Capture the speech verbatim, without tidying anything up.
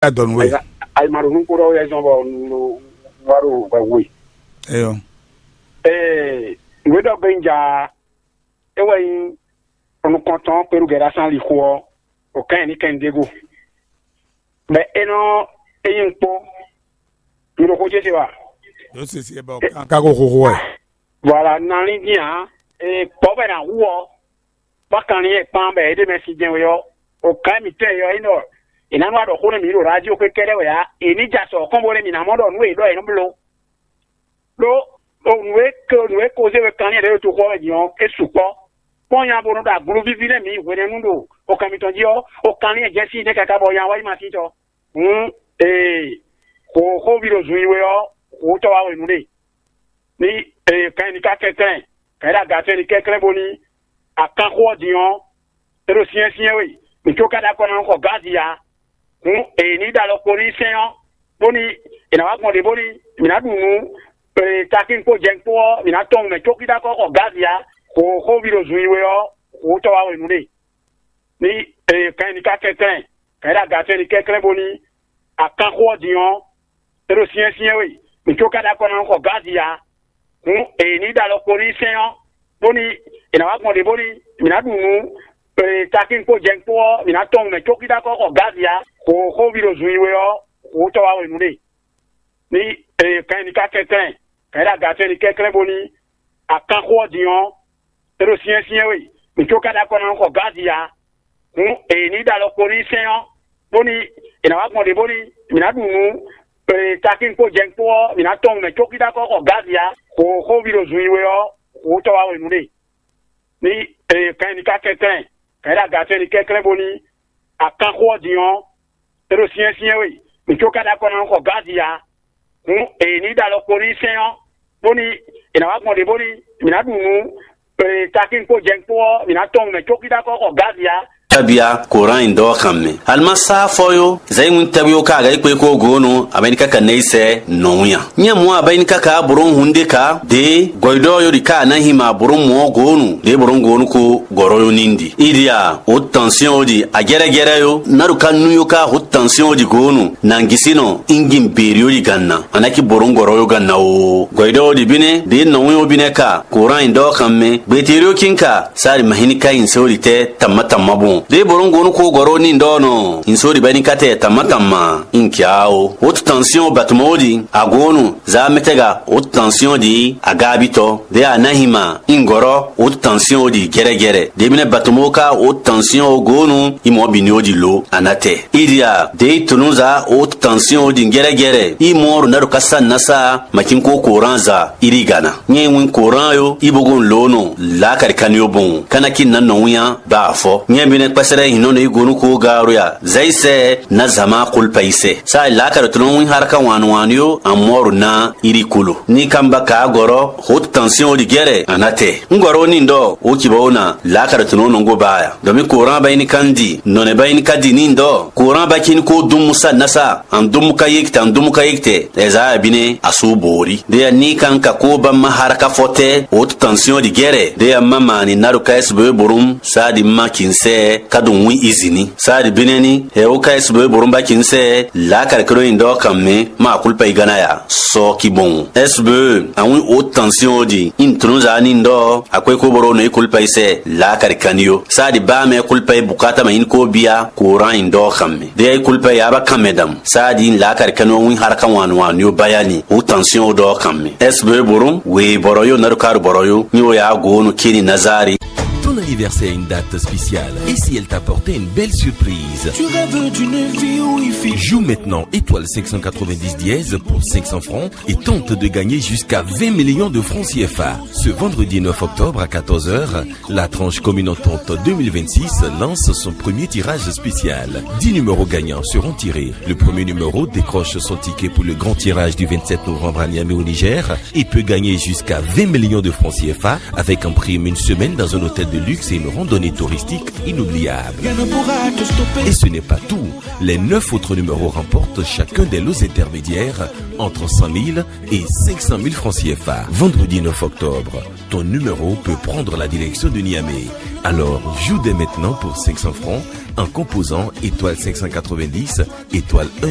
Adɔnu we. Ayi ma ɖo nuko ɖɔ wɛ zɔn bɔ nu wa ɖo wɛ we. Eyo. Ee, nwe ɖɔ gbe nja e wɛ nyi nukɔntɔn kpeɖu gɛɖa san li xo ɔ, o kan ni kɛn ɖe go. Bɛ e nɔ e nyi kpo. Mi ɖo xo ce se wa. Yóò ṣe ṣe bɔ kan ka ko xoxo ɛ. Voilà, nalin din a, e kpɔ bɛ na wu ɔ. Bɔ kanlin e kpan bɛ e ɖe mɛ si jɛn we ɔ, o kan mi tɛ yɔ e nɔ e na nɔ aɖɔ xo ne mi ɖo radio xwe kɛɖɛ wɛ a, e ni ja sɔ kɔn bo ne mi na mɔ ɖɔ nu e ɖɔ e nɔ blo. Ɖó nǔ e ke nǔ e ko zé we kanlin ɖě ɖo toxo ɔ́ mɛ din ɔ́, é sukpɔ́. Kpɔ́n nya bo nɔ ɖo agluvíví nɛ́ mǐ hwenɛ́nu ɖo okan mitɔn jí ɔ́, okanlin e jɛ sín nɛ́ káká bɔ nya wá yi ma sín tɔ. Hǔn, ee, xo xóví ɖo zun yi we ɔ́, xo tɔ́ wá wɛ nǔ ɖe. Ní ee kan ɛ ní ká kɛnklɛ́n, kan ɛ ɖo aga tɔn ɛ ní kɛnklɛ́n bóní akanxó ɔ́ din ɔ́, é ɖo syɛ́nsyɛ́n we, mǐ có ka ɖo akɔ ná xɔ Gazi ǎ. Hǔn è ní ɖo alɔ kpo n'i sɛ́n ɔ́, bóní è nǎ wá gbɔn ɖě bóní mǐ ná ɖu nǔ, takín kpó jɛ̌n kpó ɔ́, mǐ ná tɔn mɛ có kí ɖó akɔ xɔ Gazi ǎ. Xo xóví ɖo zun yi we ɔ́, xo tɔ́ wá wɛ nǔ ɖe. Ní kan ɛ ní ká kɛnklɛ́n, kan ɛ ɖo aga tɔn ɛ ní kɛnklɛ́n bóní akanxó ɔ́ din ɔ́, é ɖo syɛ́nsyɛ́n we, mǐ có ka ɖo akɔ ná xɔ Gazi ǎ. Hǔn è ní ɖo alɔ kpo n'i sɛ́n ɔ́, bóní è nǎ wá gbɔn ɖě bóní mǐ ná ɖu nǔ, takín kpó jɛ̌n kpó ɔ́, mǐ ná tɔn mɛ có kí ɖó akɔ xɔ Gazi ǎ. Xo xóví ɖo zun yi we ɔ́, xo tɔ́ wá wɛ nǔ ɖe. Ní kan ɛ ní ká kɛnklɛ́n, kan ɛ ɖo aga tɔn ɛ ní kɛnklɛ́n bóní akanxó ɔ́ din ɔ́, é ɖo syɛ́nsyɛ́n we, mǐ có ka ɖo akɔ ná xɔ Gazi ǎ. Hǔn è ní ɖo alɔ kpo n'i sɛ́n ɔ́, bóní è nǎ wá gbɔn ɖě bóní mǐ ná ɖu nǔ, takín kpó jɛ̌n kpó ɔ́, mǐ ná tɔn mɛ có kí ɖó akɔ xɔ Gazi ǎ. Xo xóví ɖo zun yi we ɔ́, xo tɔ́ wá wɛ nǔ ɖe. Ní kan ɛ ní ká kɛnklɛ́n, kan ɛ ɖo aga tɔn ɛ ní kɛnklɛ́n bóní akanxó ɔ́ din ɔ́, é ɖo syɛ́nsyɛ́n we, mǐ có ka ɖo akɔ ná xɔ Gazi ǎ. Hǔn è ní ɖo alɔ kpo n'i sɛ́n ɔ́, bóní è nǎ wá gbɔn ɖě bóní mǐ ná ɖu nǔ, takín kpó jɛ̌n kpó ɔ́, mǐ ná tɔn mɛ có kí ɖó akɔ xɔ Gazi ǎ. Tabia Koran in dɔ kan mɛ. Alima sa fɔ yo, zai ŋun tabi o ka ga ikpe ko go no, aben ka ka nei sɛ no ya. Nya mu aben ka ka boro hunde ka de goido yo di ka na hima boro mo go no, de boro go no ko goro yo nindi. Idia o tension o di a gere gere yo, na du ka nu yo ka o tension o di go no, na ngisi no, ingin beri o di ganna. Anaki boro goro yo ganna o. Goido o di bine, de no yo bine ka, Koran in dɔ kan mɛ, beterio kin ka, sari mahini ka in se o di te, tamma tamma bon. De boro go no ko goro ni dɔ no, in so di bani ka te, tamma tamma, in kia o. O tension batmo o di, a go no, za metega, o tension di, a gabito, de a nahima, in goro, o tension o di, gere gere. De bine batmo ka, o tension o go no, i mo bini o di lo, anate. Idia, de i tunu za, o tension o di, gere gere. I mo ro na do kasa nasa, makin ko Koran za, iri gana. Nye win Koran yo, i bogon lo no, la kari kan yo bon. Kana ki na no ya, ba fɔ. Nye bine kpɛsɛrɛ hino ne i gonu ko garu ya. Zaisɛ, na zama kulpa ise. Sa la kari tunu win haraka wan wan yo, amor na iri kulu. Ni kamba ka goro, hot tension di gere, anate. Ngoro ni ndo, o kibo na, la kari tunu nongo baya. Domi Koran ba ini kandi, none ba ini kadi ni ndo. Koran ba kin ko dum musa nasa, an dum ka yekte, an dum ka yekte. Ezaya bine, asu bori. De ya ni kan ka ko ba ma haraka fote, o tension di gere. De ya mama ni naru ka S B borum, sa di ma kinse, ka dum wi izini. Sa di bine ni, he o ka S B borum ba kinse, la kari kro in do kan me, ma kulpa igana ya. So ki bon. S B, an wi o tension di, in trunza ni ndo, a kwe ko boro no i kulpa ise, la kari kan yo. Sa di ba me kulpa i bukata ma in ko bia, Koran in do kan me. De ya i kulpa ya ba kan me dam. Sa di in la kari kan yo win haraka wan wan yo bayani, o tension do kan me. S B borum, we boro yo naru karu boro yo, ni o ya go no kini nazari. Ton anniversaire a une date spéciale. Et si elle t'apportait une belle surprise ? Tu rêves d'une vie où il fait... Joue maintenant étoile cinq cent quatre-vingt-dix dièse pour cinq cents francs et tente de gagner jusqu'à vingt millions de francs C F A. Ce vendredi neuf octobre à quatorze heures, la tranche commune entente deux mille vingt-six lance son premier tirage spécial. Dix numéros gagnants seront tirés. Le premier numéro décroche son ticket pour le grand tirage du vingt-sept novembre à Niamey au Niger. Il peut gagner jusqu'à vingt millions de francs C F A avec en prime une semaine dans un hôtel de luxe et une randonnée touristique inoubliable. Rien ne pourra te stopper. Et ce n'est pas tout. Les neuf autres numéros remportent chacun des lots intermédiaires entre cent mille et cinq cent mille francs C F A. Vendredi neuf octobre, ton numéro peut prendre la direction de Niamey. Alors, joue dès maintenant pour cinq cents francs en composant étoile cinq cent quatre-vingt-dix, étoile un.